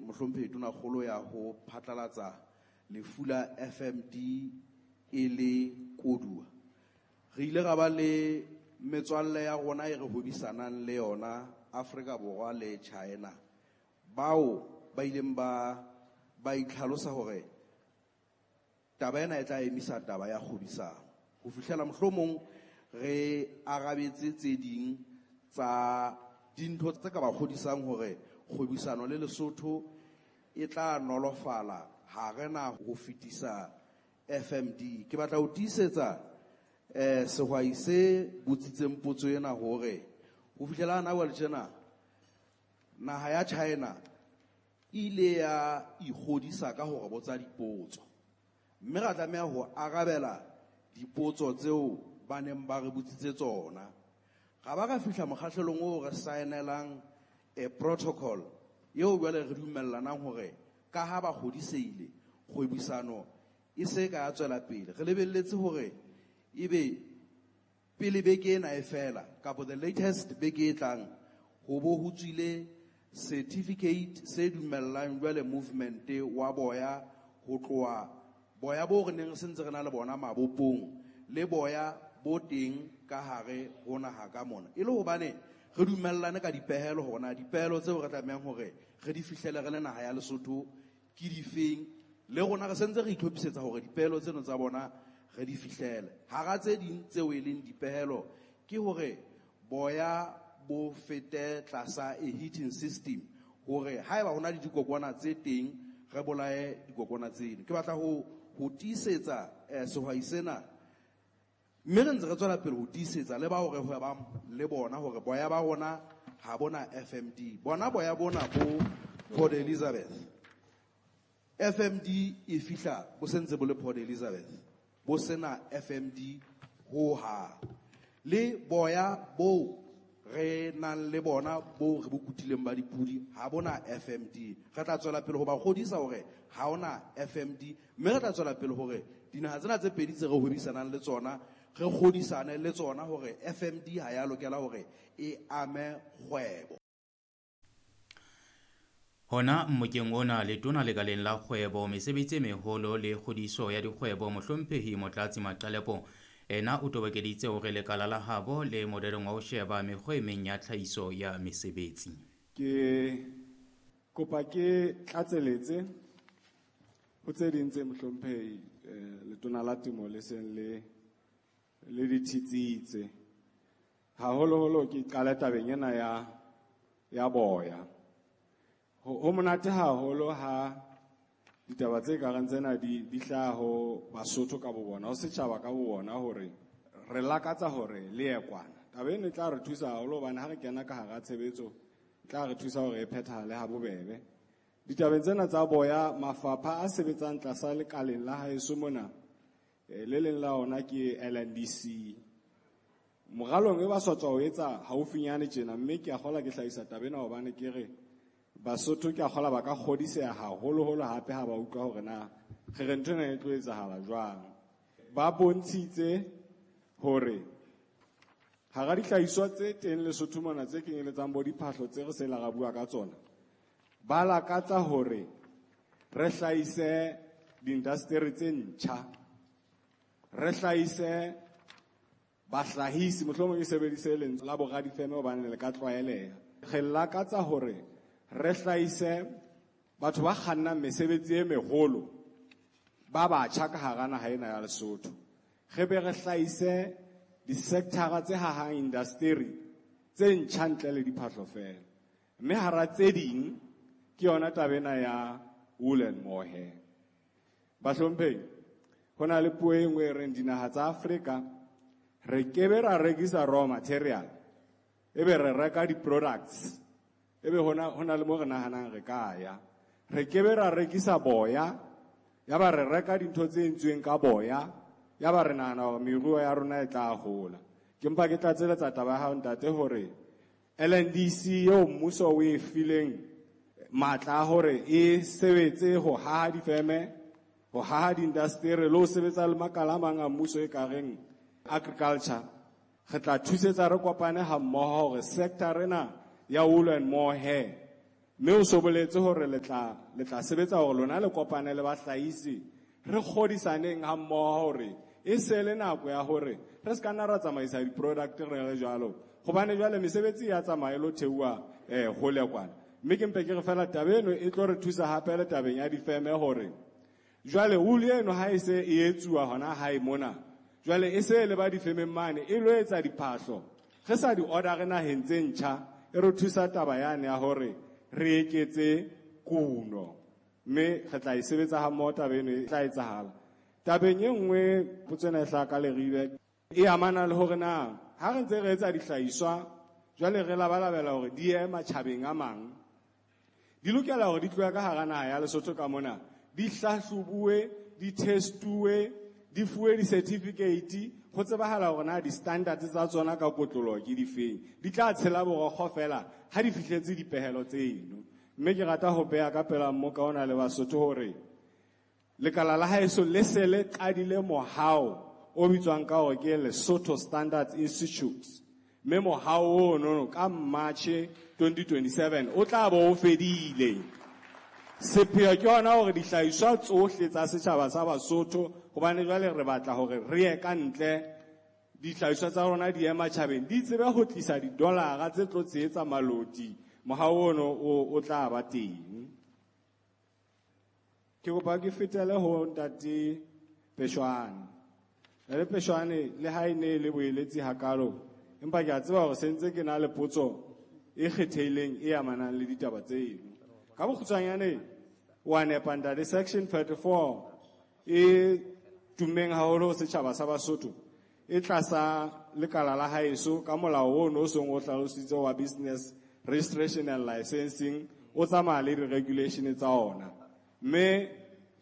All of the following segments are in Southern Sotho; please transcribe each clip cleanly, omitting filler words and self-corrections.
Mohlomphehi Tonakgolo ya ho phatlalatsa lefu la FMD e le koduwa, re ile ra ba le metswalle ya rona e re hwebisanang le yona Afrika Borwa le China, bao ba ileng ba itlhalosa hore taba ena e tla emisa taba ya kgwebisano ho fihlela mohlomong re arabetse tse ding tsa dintho tse ka ba kgodisang hore kgwebisano le Lesotho e tla nolofala ha re na ho fetisa FMD. Ke batla ho tiisetsa sehwai se botsitseng potso ena hore ho fihlela hana jwale tjena naha ya China e ile ya ikgodisa ka hore botsa dipotso, mme ra tlameha ho arabela dipotso tseo ba neng ba re botsitse tsona. Ra ba ra fihla mokgahlelong oo re saenelang a protocol eo jwale re dumellanang hore ka ha ba kgodisehile kgwebisano e se ka ya tswela pele. Re lebelletse hore ebe pele beke ena e fela kapa the latest beke e tlang ho bo ho tswile certificate se dumellang jwale movement wa boya ho tloha boya bo re neng re sentse re na le bona mabopong le boya bo teng ka hare ho naha ka mona, e le hobane re dumellane ka dipehelo hore na dipehelo tseo re tlamehang hore re di fihlele re le naha ya Lesotho ke difeng, le rona re sentse re itlhophisetsa hore dipehelo tseno tsa bona re di fihlele. Hara tse ding tseo e leng dipehelo ke hore boya bo fete tlasa a heating system hore haeba hona le dikokwana tse teng re bolaye dikokwana tseno. Ke batla ho tiisetsa sehwai sena, mme re ntse re tswela pele ho tiisetsa le bao re hwebang le bona hore boya ba rona ha bona FMD. Bona boya bona bo Port Elizabeth, FMD e fihla bo sentse bo le Port Elizabeth, bo sena FMD ho hang. Le boya bo re nang le bona bo re bo kutileng ba dipudi ha bona FMD. Re tla tswela pele ho ba kgodisa hore ha hona FMD, mme re tla tswela pele hore dinaha tsena tse pedi tse re hwebisanang le tsona re kgodisane le tsona hore FMD ha ya lokela hore e ame kgwebo. Hona mmokeng ona letona lekaleng la kgwebo, mesebetsi e meholo le kgodiso ya dikgwebo, Mohlomphehi Motlatsi Maqalepo ena o tobokeditse hore lekala la habo le morerong wa ho sheba mekgwa e meng ya tlhahiso ya mesebetsi. Ke kopa ke tlatseletse ho tse ding tse Mohlomphehi letona la temo le seng le di thitsitse. Haholoholo ke qale tabeng ena ya boya. Ho monate haholo ha ditaba tse kareng tsena di hlaha ho Basotho ka bo bona, ho setjhaba ka bo bona, hore re lakatsa hore le ye kwana. Taba eno e tla re thusa haholo hobane ha re kena ka hara tshebetso, e tla re thusa hore e phethahale ha bobebe. Ditabeng tsena tsa boya, mafapha a sebetsang tlasa lekaleng la haeso mona, le leng la ona ke LNDC. Moralong e ba sa tswa ho etsa haufinyane tjena, mme ke a kgolwa ke hlahisa taba ena hobane ke re Basotho ke a kgolwa ba ka kgodiseha haholoholo hape ha ba utlwa hore na re re ntho ena e tlo etsahala jwang. Ba bontshitse hore hara dihlahiswa tse teng Lesotho mona tse kenyeletsang bo diphahlo tse re seng ra bua ka tsona, ba lakatsa hore re hlahise diindasteri tse ntjha, re hlahise bahlahisi, mohlomong e sebedise lentswe la boradifeme hobane le ka tlwaeleha. Re lakatsa hore re hlahise batho ba kgannang mesebetsi e meholo ba batjha ka hara naha ena ya Lesotho. Re be re hlahise di-sector-a tse hahang indasteri tse ntjha ntle le diphahlo feela. Mme hara tse ding ke yona taba ena ya wool and mohair. Bahlomphehi, ho na le puo e nngwe e reng dinaha tsa Afrika re kebe ra rekisa raw material, ebe re reka di-products, ebe hona le mo re nahanang re ka ya. Re kebe ra rekisa boya, ya ba re reka dintho tse entsweng ka boya, ya ba re nahana hore meruo ya rona e tla hola. Ke mpa ke tlatseletsa taba ya hao ntate hore LNDC eo mmuso o e fileng matla a hore e sebetse ho haha difeme, ho haha diindasteri le ho sebetsa le makala a mang a mmuso e ka reng agriculture, re tla thusetsa re kopane ha mmoho hore sector ena ya wool and mohair Mme o so boletse hore le tla sebetsa hore lona le kopane le bahlahisi, re kgodisaneng ha mmoho hore e se le nako ya hore re se ka nna ra tsamaisa di-product re le jwalo, hobane jwale mesebetsi ya tsamaya e lo theoha hole kwana. Mme ke mpe ke re fela taba eno e tlo re thusa hape le tabeng ya difeme hore jwale wool eno ha e se e etsuwa hona hae mona, jwale e se le ba difemeng mane e lo etsa diphahlo, re sa di order naheng tse ntjha, e re thusa taba yane ya hore re eketse kuno, mme re tla e sebetsa ha mmoho taba eno e tla etsahala. Tabeng e nngwe potso ena e hlaha ka Leribe e amana le hore na ha re ntse re etsa dihlahiswa jwale re labalabela hore di ye matjhabeng a mang, di lokela hore di tlohe ka hara naha ya Lesotho ka mona, di hlahlobuwe, di testuwe, di fuwe di-certificate, ho tsebahala hore na di-standards tsa tsona ka kotloloho ke difeng. Di tla tshela borokgo fela ha di fihletse dipehelo tseno. Mme ke rata ho beha ka pela mmoka ona le Basotho hore lekala la haeso le se le qadile mohao o bitswang ka hore ke Lesotho Standards Institute. Mme mohao ono ka March 2027 o tla bo o fedile. Sepheo ke hona hore dihlahiswa tsohle tsa setjhaba sa Basotho, hobane jwale re batla hore re ye ka ntle, dihlahiswa tsa rona di ye matjhabeng, di tsebe ho tlisa didolara tse tlo tshehetsa maloti. Mohao ono o tla ba teng. Ke kopa ke fetele ho ntate Peshwane. Ntate Peshwane, le ha e ne le boeletsi hakalo, empa ke a tseba hore sentse ke na le potso e kgethehileng e amanang le ditaba tseno. Ka bokgutshwanyane, wa nepa ntate, section 34 e tummeng haholo ho setjhaba sa Basotho, e tlasa lekala la haeso ka molao ono o seng o hlalositse wa business registration and licensing, o tsamaya le di-regulation tsa ona. Mme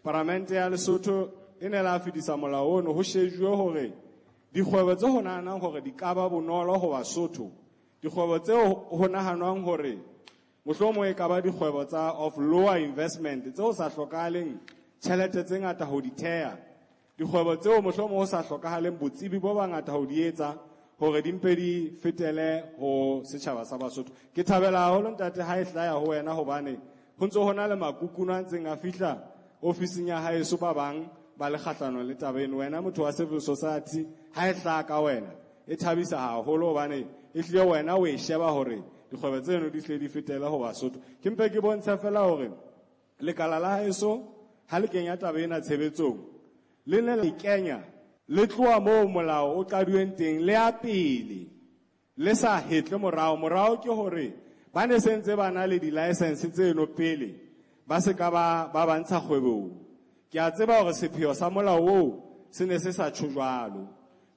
paramente ya Lesotho e ne la fetisa molao ono ho shejuwe hore dikgwebo tse ho nahanang hore di ka ba bonolo ho Basotho, dikgwebo tse ho nahanwang hore mohlomong e ka ba dikgwebo tsa of lower investment tse ho sa hlokahaleng tjhelete tse ngata ho di theha, dikgwebo tseo mohlomong ho sa hlokahaleng botsebi bo bangata ho di etsa hore di mpe di fetele ho setjhaba sa Basotho. Ke thabela haholo ntate ha e hlaya ho wena, hobane ho ntse ho na le makukuno a ntseng a fihla ofising ya haeso, ba bang ba le kgahlanong le taba eno. Wena motho wa civil society, ha e hlaha ka wena e thabisa haholo, hobane e hlile wena o e sheba hore dikgwebo tseno di hle di fetele ho Basotho. Ke mpe ke bontshe fela hore lekala la haeso ha le kenya taba ena tshebetsong, le ne le kenya le tloha moo molao o qaduweng teng le ya pele, le sa hetle morao. Morao ke hore ba ne sentse ba na le di-license tseno pele ba se ka ba ba ntsha kgwebong. Ke a tseba hore sepheo sa molao oo se ne se sa tjho jwalo.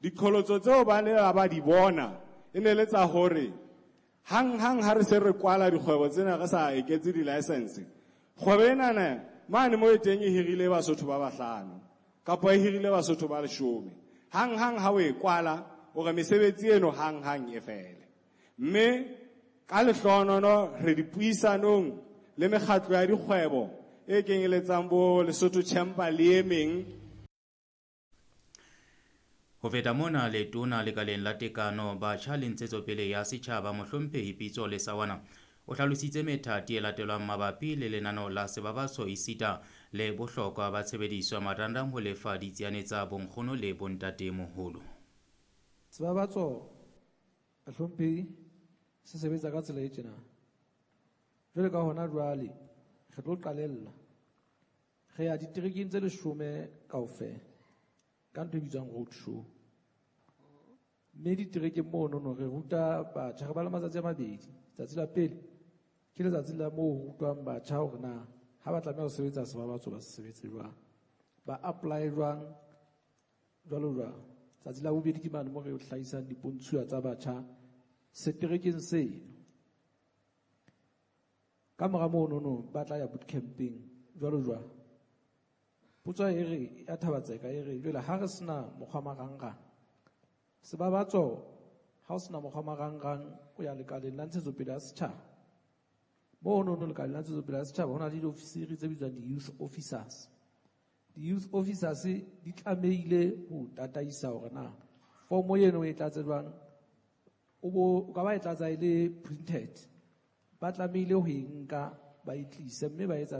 Diqholotso tseo ba ne ba di bona e ne le tsa hore hang-hang ha re se re kwala dikgwebo tsena re sa eketse di-license, kgwebo enana mane mo e teng e hirile Basotho ba bahlano kapa e hirile Basotho ba 10. Hang-hang ha o e kwala, o re mesebetsi eno hang-hang e fele. Mme ka lehlohonono re dipuisanong le mekgatlo ya dikgwebo e kenyeletsang bo Lesotho Chamber le e meng. Ho feta mona, letona lekaleng la tekano, batjha le ntshetsopele ya setjhaba, mohlomphehi Pitso Lesawana, o hlalositse methati e latelwang mabapi le lenaneo la sebabatso esita le bohlokwa ba tshebediso ya marangrang ho lefa ditsiane tsa bonkgono le bontatemoholo. Sebabatso, bahlomphehi, se sebetsa ka tsela e tjena. Jwale ka hona jwale re tlo qalella, re ya diterekeng tse 10 kaofela ka ntho e bitswang road show. Mme diterekeng monono re ruta batjha, re ba le matsatsi a mabedi. Tsatsi la pele ke letsatsi la moo ho rutwang batjha hore na ha ba tlameha ho sebetsa sebabatso ba se sebetse jwang, ba apply jwang, jwalo jwalo. Tsatsi la bobedi ke mane moo re hlahisang dipontshuwa tsa batjha seterekeng seno. Ka mora monono ba tla ya bootcamping jwalo jwalo. Potso e re ya Thabatseka e re jwale ha re sena mokgwa marangrang, sebabatso ha o sena mokgwa marangrang o ya lekaleng la ntshetsopele ya setjhaba. Monono lekaleng la ntshetsopele ya setjhaba ho na le diofisiri tse bitswang di-youth officers. Di-youth officers di tlamehile ho tataisa hore na fomo eno e tlatse jwang, o ka ba e tlatsa e le printed, ba tlamehile ho e nka ba e tlise mme ba etsa.